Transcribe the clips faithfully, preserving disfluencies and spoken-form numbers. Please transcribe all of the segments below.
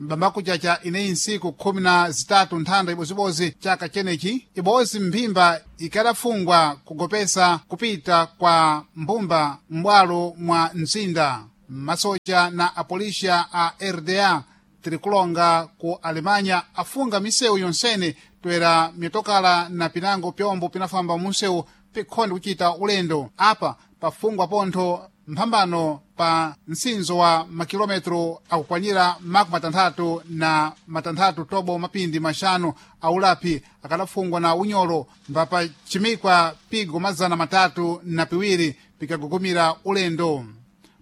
Mbambakuchacha ineyi ntsiku khumi na zitatu nthanda ibozibozi chaka chenechi, ibozi mphimba ikadafungwa kugopesa kupita kwa mbumba m'bwalo mwa mzinda. Masocha na apolisiya a R D A tirikulonga ku Alemanya afunga misewu yonsene toera mitokala na pinango pyombo pinafamba munsewu pikhonde kuchita ulendo. Apa pafungwa pontho mphambano pa mtsinzo wa makilometro akukwanira makumi matanthatu na matanthatu tobo mapindi maxanu aulapi akadafungwa na unyolo, mbapachimikwa pigo mazana matatu na piwiri pikagugumira ulendo.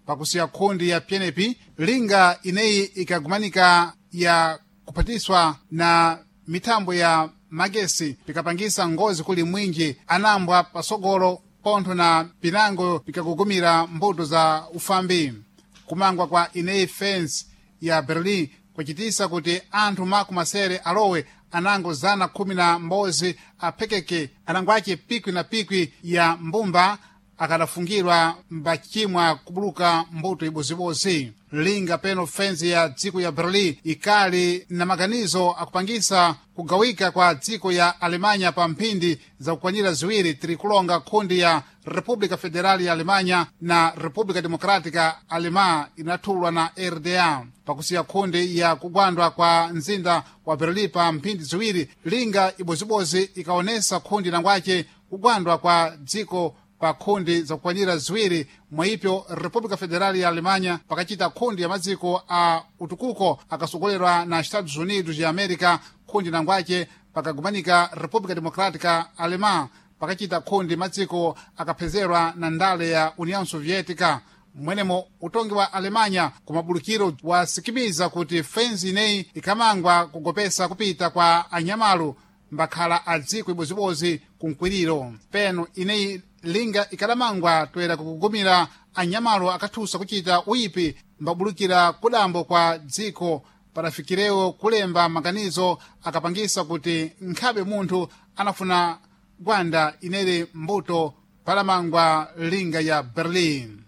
Pakusiya khundi ya pyenepi, linga ineyi ikagumanika ya kuphatiswa na mithambo ya magesi pikapangisa ngozi kuli mwinji anambwa pasogolo pontho na pinango pikagugumira mbuto za ufambi. Kumangwa kwa ineyi fence ya Berlin kwacitisa kuti anthu makumi masere alowe anango zana khumi na mbozi aphekeke anango ace pikwi na pikwi ya mbumba akadafungirwa mbacimwa kubuluka mbuto ibozibozi. Linga peno fenzi ya dziko ya Berlin ikali na maganizo akupangisa kugawika kwa dziko ya Alemanya pa mphindi zakukwanira ziwiri tirikulonga khundi ya República Federal ya Alemanya na República Democrática Alemã inathulwa na R D A. Pakusiya khundi ya kugwandwa kwa mzinda wa Berlin pa mphindi ziwiri, linga ibozibozi ikaonesa khundi nangwace kugwandwa kwa dziko pa khundi zakukwanira ziwiri, mwaipyo República Federal ya Alemanha pakachita khundi ya madziko a utukuko akasogolerwa na Estados Unidos ya América, khundi nangwace pakagumanika República Democrática Alemã pakachita khundi madziko akaphezerwa na ndale ya União Soviética. Mwenemo utongi wa Alemanya kumabulukiro wasikimiza kuti fenzi ineyi ikamangwa kugopesa kupita kwa anyamalu mbakhala a dziko ibozibozi kunkwiriro. Peno ineyi linga ikadamangwa toera kukugumira anyamalo akathusa kuchita uyipi mbabulukira kudambo kwa dziko, padafikirewo kulemba maganizo akapangisa kuti nkhabe munthu anafuna gwanda inere mbuto palamangwa linga ya Berlin.